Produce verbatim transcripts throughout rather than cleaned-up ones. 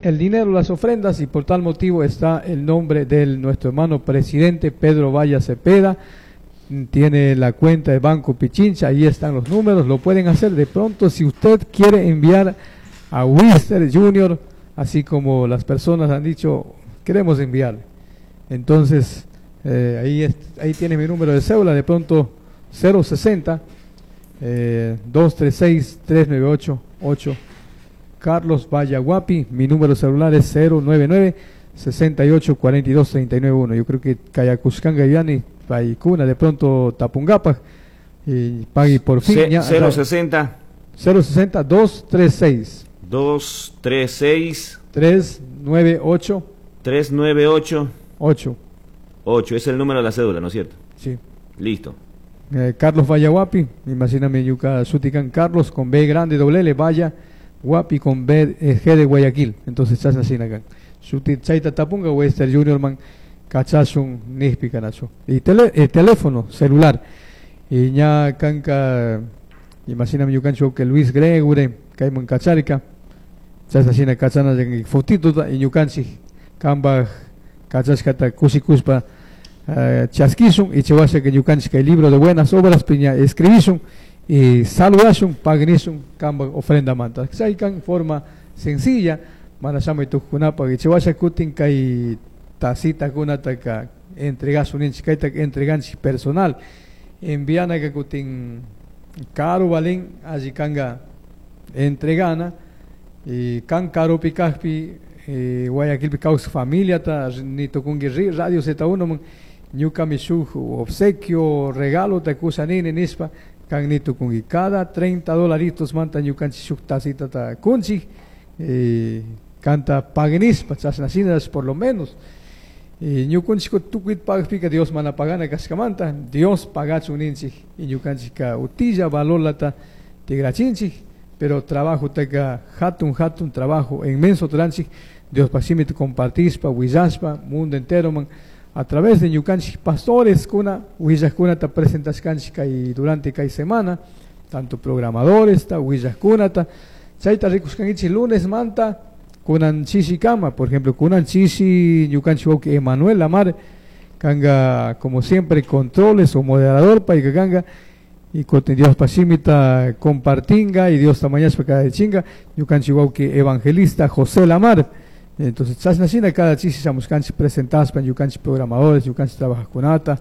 El dinero, las ofrendas, y por tal motivo está el nombre de nuestro hermano presidente Pedro Valle Cepeda. Tiene la cuenta de Banco Pichincha, ahí están los números, lo pueden hacer de pronto si usted quiere enviar a Wister Junior, así como las personas han dicho, queremos enviarle. Entonces, eh, ahí, es, ahí tiene mi número de cédula, de pronto cero sesenta eh, doscientos treinta y seis trescientos noventa y ocho ocho. Carlos Vallaguapi, mi número celular es cero noventa y nueve sesenta y ocho cuarenta y dos treinta y nueve uno. Yo creo que Kayacuscan Gayani, Paicuna, de pronto tapungapaj, y pagui por fin. cero sesenta. cero sesenta doscientos treinta y seis. doscientos treinta y seis. trescientos noventa y ocho. trescientos noventa y ocho. ocho. ocho, es el número de la cédula, ¿no es cierto? Sí. Listo. Eh, Carlos Vallaguapi, imagíname ñuka shuti kan Carlos con B grande doble L, Valla, Guapi con B, eh, G de Guayaquil. Entonces, chasna kan. Shuti chayta tapunga Wester Junior man kachashun nijpi kanachu. Y tele, eh, teléfono celular. Y ña kanka, imagíname ñukanchik que Luis Gregory, kayman kacharika. Chasna kachana fotito y ñukanchik kambaj kachashkata kushikuspa uh, chaskishun y chawasha que ñukanchik kay libro de buenas obras piña escribishun y saludashun pagnishun kambaj ofrenda manta. Chaykan forma sencilla mana shamuy tukuqkunapaq y chawasha kutin kay tacita kunataka entregasun ninchik, kayta entreganchik personal envianaka kutin karu valin alli kanga entregana y kan karupi kajpi eh, Guayaquilpi kawsaj familiata ni tukunki ri Radio Z uno man ñukami shuk obsequio regalo ta kusha nini nishpa kan ni tukunki cada treinta dolaritos manta ñukanchik shuk tacita ta kunchik eh, kanta paguenispa chashna shina por lo menos y ñukunchik tukuyta pagpika Dios mana pagana kashkamanta Dios pagachun ninchik y ñukanchikka utilla valorlata tigrachinchik, pero trabajo taka hatun hatun trabajo inmenso ruranchik Dios shimita compartispa willashpa mundo entero man a través de ñukanchik pastores kuna willajkunata presentashkanchik kay durante kay semana, tanto programadores ta willajkunata chayta rikushkankichik lunes manta kunan kama. Por ejemplo, kunan chishi ñukanchik wawki Emanuel Lamar kanga como siempre controles o moderador payka kanga y kutin Dios shimita compartinga y Dios mañashpa cada chinga ñukanchik wawki evangelista José Lamar. Entonces chashna shina cada chishi shamushkanchik presentashpa ñukanchik programadores, ñukanchik trabajajkunata.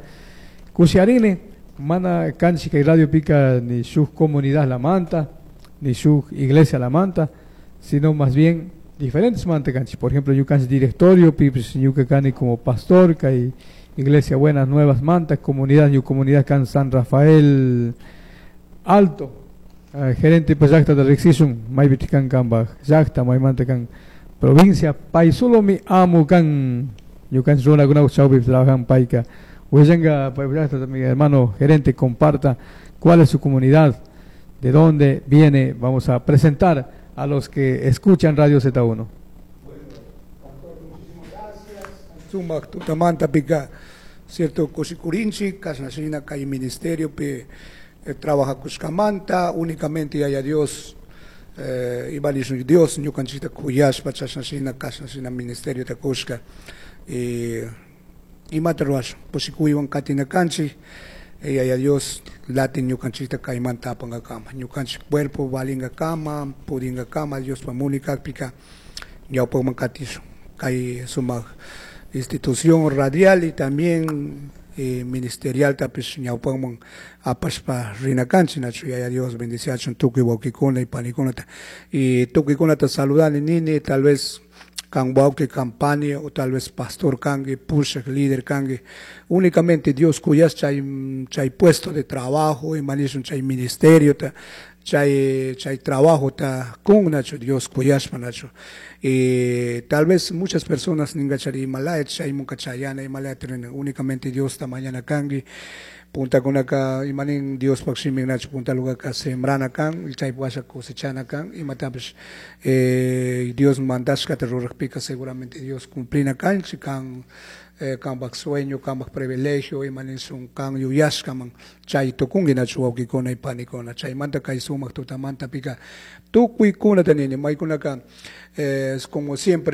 Kushiarini mana kanchik kay radio pika ni shuk comunidad la manta ni shuk iglesia la manta, sino más bien diferentes manta kanchik. Por ejemplo, ñukanchik directorio pipis ñuka kani como pastor kay Iglesia Buenas Nuevas Manta, comunidad ñu comunidad kan San Rafael Alto uh, gerente pues llakta de riqsishun maypi kan kambaj llakta maymanta kan provincia pay solomi amu kan ñukanchik runakunapak chawpipi trabajan payka willanka pay llakta. Mi hermano gerente comparta cuál es su comunidad, de dónde viene. Vamos a presentar a los que escuchan Radio Z uno. Sumak tutamanta pika cierto kushikurinchik kashna shina kay ministerio pi eh, trabajakushkamanta únicamente Yaya Dios eh, imanishun Dios ñukanchikta kuyashpa chashna shina kashna shina ministerio ta kushka y imata ruwashun kushikuywan katina kanchik eh, Yaya Dios latin ñukanchikta kaymanta apankakama ñukanchik cuerpo valinkakama pudinkakama Diospa munay kakpika ñawpakman katishun kay sumak institución radial y también eh, ministerial tapish ñawpakman apashpa rina kanchik nachu. Yaya Dios bendiciachun tukuy wawkikuna y panikunata y tukuykunata saludani nini tal vez kan wawki kan pani o tal vez pastor kanki pushak líder kanki únicamente Dios kuyash chay chay puesto de trabajo imanishun chay ministerio ta chay chay trabajo ta kun nachu Dios kuyashpa nachu. Y tal vez muchas personas ninkachari imalaya chaymunka chayana imalaya únicamente Dios ta mañana kanki puntakunaka imanin Diospak shimin nachu punta lugarka sembrana kan y chay washa cosechana kan imatapish eh, Dios mandashkata rurajpika seguramente Dios cumplina kanchik kan eh, kanpak sueño kanpak privilegio imanin kan yuyashkaman chay tukunki nachu wawkikuna y panikuna. Chaymanta kay sumak tutamanta pika tukuykunata nini maykunaka eh, como siempre.